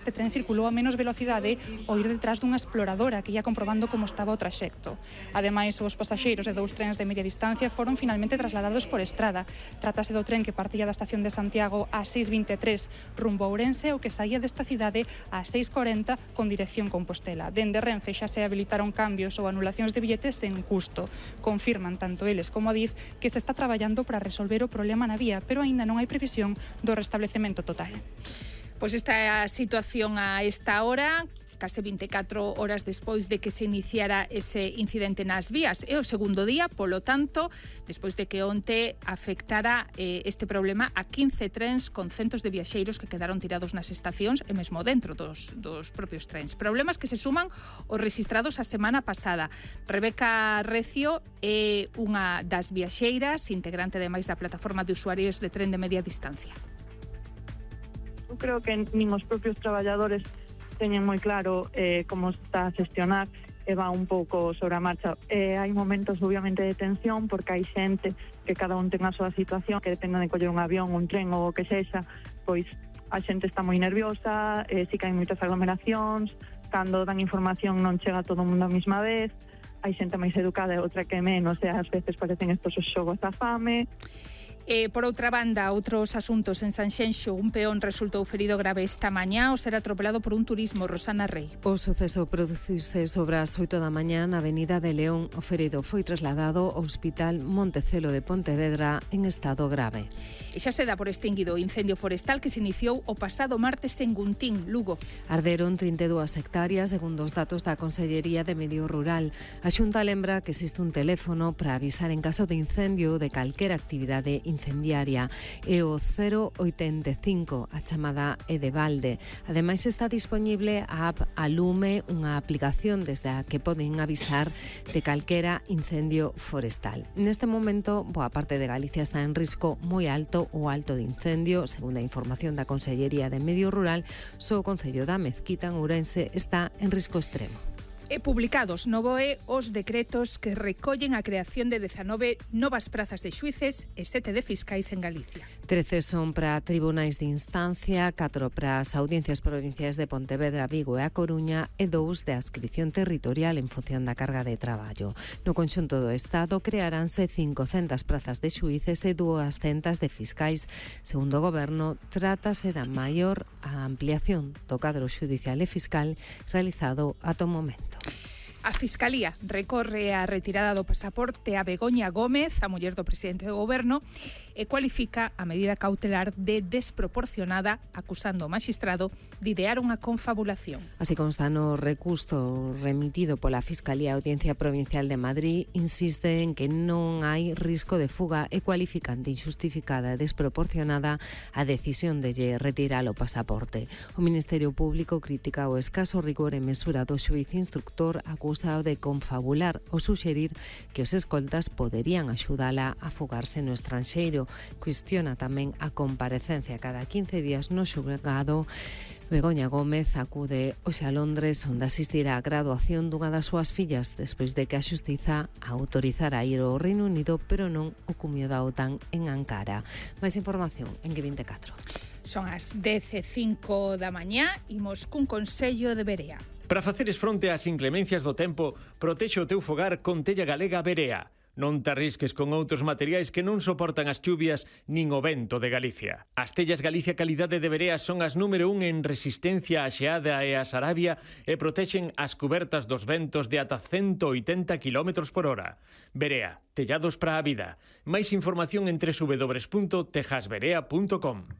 Este tren circulou a menos velocidade ao ir detrás dunha exploradora que ia comprobando como estaba o traxecto. Ademais, os pasaxeiros de 2 trens de media distancia foron finalmente trasladados por estrada. Trátase do tren que partía da estación de Santiago ás 6:23 rumbo a Ourense o que saía desta cidade ás 6:40 con dirección Compostela. Dende Renfe xa se habilitaron cambios ou anulacións de billetes sen custo. Confirman tanto eles como a DIF que se está traballando para resolver o problema na vía, pero aínda non hai previsión do restablecemento total. Pois esta é a situación a esta hora, case 24 horas despois de que se iniciara ese incidente nas vías. É o segundo día, polo tanto, despois de que onte afectara este problema a 15 trens con centos de viaxeiros que quedaron tirados nas estacións e mesmo dentro dos propios trens. Problemas que se suman os rexistrados a semana pasada. Rebeca Recio é unha das viaxeiras, integrante ademais da plataforma de usuarios de tren de media distancia. Eu creo que nin os propios traballadores teñen moi claro como está a xestionar e va un pouco sobre a marcha. Hai momentos obviamente de tensión porque hai xente que cada un ten a súa situación, que depende de coller un avión, un tren ou o que sexa, pois a xente está moi nerviosa, si que hai moitas aglomeracións, cando dan información non chega todo o mundo a mesma vez, hai xente máis educada e outra que menos, e ás veces parecen estos os xogos da fame. Por outra banda, outros asuntos en Sanxenxo, un peón resultou ferido grave esta mañá ao ser atropelado por un turismo. Rosana Rei. O suceso producirse sobre as 8 da mañá na Avenida de León. O ferido foi trasladado ao Hospital Montecelo de Pontevedra en estado grave. E xa se dá por extinguido o incendio forestal que se iniciou o pasado martes en Guntín, Lugo. Arderon 32 hectáreas, segundo os datos da Consellería de Medio Rural. A Xunta lembra que existe un teléfono para avisar en caso de incendio de calquera actividade incendiaria. É o 085, a chamada é de balde. Ademais está disponible a app Alume, unha aplicación desde a que poden avisar de calquera incendio forestal. Neste momento, boa parte de Galicia está en risco moi alto ou alto de incendio. Segundo a información da Consellería de Medio Rural, só o concello da Mezquita en Ourense está en risco extremo. Publicados no BOE os decretos que recollen a creación de 19 novas prazas de xuíces e 7 de fiscais en Galicia. 13 son para tribunais de instancia, 4 para as audiencias provinciais de Pontevedra, Vigo e A Coruña e 2 de adscripción territorial en función da carga de traballo. No conxunto do Estado crearánse 500 prazas de xuíces e 200 de fiscais. Segundo o Goberno, trátase da maior ampliación do cadro xudicial e fiscal realizado ata o momento. A Fiscalía recorre a retirada do pasaporte a Begoña Gómez, a muller do presidente do Goberno, e cualifica a medida cautelar de desproporcionada, acusando o magistrado de idear unha confabulación. Así consta no recurso remitido pola Fiscalía a Audiencia Provincial de Madrid, insiste en que non hai risco de fuga e cualifican de injustificada e desproporcionada a decisión de lle retirar o pasaporte. O Ministerio Público critica o escaso rigor e mesura do xuíz instructor acusado de confabular ou suxerir que os escoltas poderían axudala a fugarse no estranxeiro. Cuestiona tamén a comparecencia cada 15 días no xulgado. Begoña Gómez acude hoxe a Londres, onde asistirá á graduación dunha das súas fillas despois de que a Xustiza autorizara a ir ao Reino Unido, pero non o cumio da OTAN en Ankara. Máis información en G24. Son as 10:05 da mañá, imos cun consello de Berea. Para faceres fronte ás inclemencias do tempo, protexe o teu fogar con tella galega Berea. Non te arrisques con outros materiais que non soportan as chuvias nin o vento de Galicia. As tellas Galicia Calidade de Berea son as número 1 en resistencia á xeada e á sarabia e protexen as cubertas dos ventos de ata 180 km por hora. Berea, tellados para a vida. Máis información en www.tejasberea.com.